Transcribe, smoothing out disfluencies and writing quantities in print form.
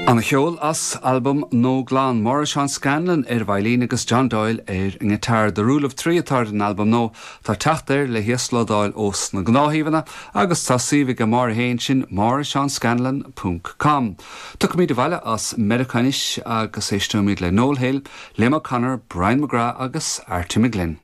Ana cheol as albam Nó Glan, Máire Seán Scanlon ar veidhlín agus John Doyle ar an ngiotár. The Rule of Three atá ar an albam nó tá teacht air le híoslódáil ós na gnáthshuíomhanna agus tá suíomh aige Máire féin, sin máireseanscanlon ponc com. Tiocfaimid abhaile as Meiriceá anois agus éisteoimid le Noel Hill, Liam O'Connor, Brian McGrath agus Arty McGlynn.